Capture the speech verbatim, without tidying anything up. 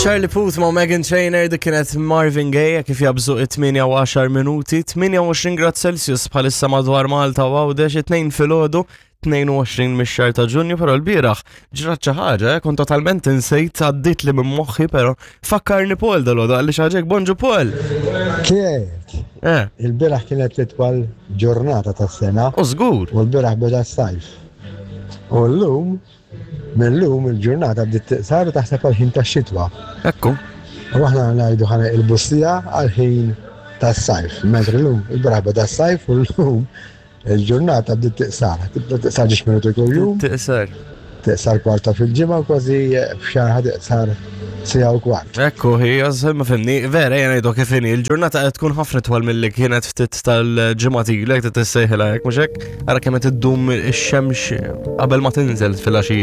Charlie Puth ma' Meghan Trainor, dik kienet Marvin Gaye, kif jaqbżu it-tmienja u għaxar minuti, tmienja u għoxrin grad Celsius bħalissa madwar Malta u Għawdex, it-Tnejn filgħodu, tnejn u għoxrin mix-xahar ta' Ġunju, però l-bieraħ ġrat xi ħaġa, eh, kont totalment insejt, għaddit li minn moħħi, però fakkarni Paul dalgħodu, għalli xaġek, bonġu Paul. Kif? Eh, Il-bieraħ kienet l-itwal ġurnata tas-sena u żgur. U l-bieraħ beda s-sajf. U l-lum, mill-lum il-ġurnata bdiet tiqsar u taħseb għal-ħin tax-xitwa. Ekku. U aħna ngħidu ħana il-bussija għal-ħin tas-sajf. Mentri l-lum, il-bieraħ beda s-sajf u l-lum il-ġurnata bdiet tiqsar. Tibda tiqsar ġiex minuti kuljum, Tiqsar. Tiqsar kwarta fil-ġimgħa u kważi f'xahar tiqsar siegħa u kwart. Ekku, hija, ma fimni, vera, jena jdu kif inhi, il-ġurnata qed tkun ħafna twal mill-li kienet ftit tal-ġimgħat ilek, tissejħilha hekk, mhux hekk? Ara kemm qed iddum ix-xemx qabel ma tinżel fil-għaxija.